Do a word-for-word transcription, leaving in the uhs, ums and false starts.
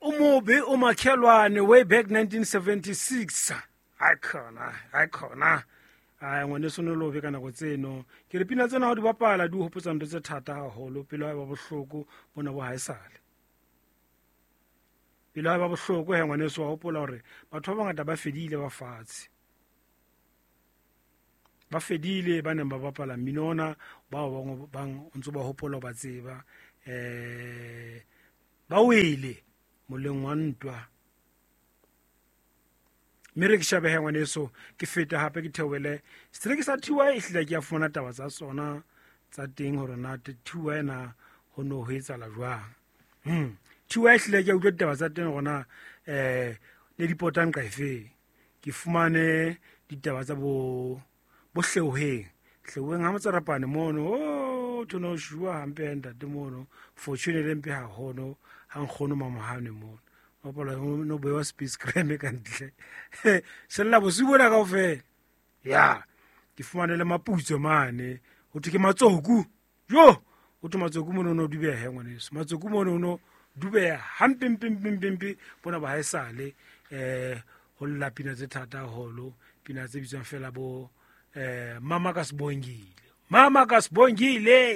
O mobe o makhelwane way back nineteen seventy-six. Ai khona, ai khona. Ai ngwaneso no lobe ka nako tseno. Ke re pina tsena ha di bapala di o hopotsa ntho tse thata haholo, pelo ha e ba bohloko bona bo haesale. Pelo ha e ba bohloko he ngwaneso wa hopola hore batho ba bangata ba fedile ba fatshe. Ba fedile ba neng ba bapala mmino ona, bao bang bang o ntso ba hopola ba tseba. Eh ba wele moleng wa ntwa. Mme re ke shabe he ngwaneso, ke feta hape ke theohele setereke sa T Y, ehlile ke a fumana taba tsa tsona tsa teng hore na T Y na ho no ho etsahala jwang. Hmm. T Y ehlile ke a utlwa ditaba tsa teng hore na, eh, ne di potang nqa efeng. Ke fumane ditaba tsa bo, bo Hleoheng. Hleoheng ha Motsarapane mono, oh, thono shua hampe ya ntate mono, fortune le mpe haholo, ha nkgono Mamohane mono. Hopola no bewa space creme ka ntle. Sella bosiu bona kaofela. Ya, ke fumane le maputso mane. Ho thwe ke matsoku. Jo, ho thwe matsoku mono no dubeha ngwaneso. Matsoku mono no dubeha hampe mpe mpe mpe mpe bona ba haesale, eh, ho lla pina tse thata haholo, pina tse bitswang fela bo, eh, Mama ka Sibongile. Mama ka Sibongile.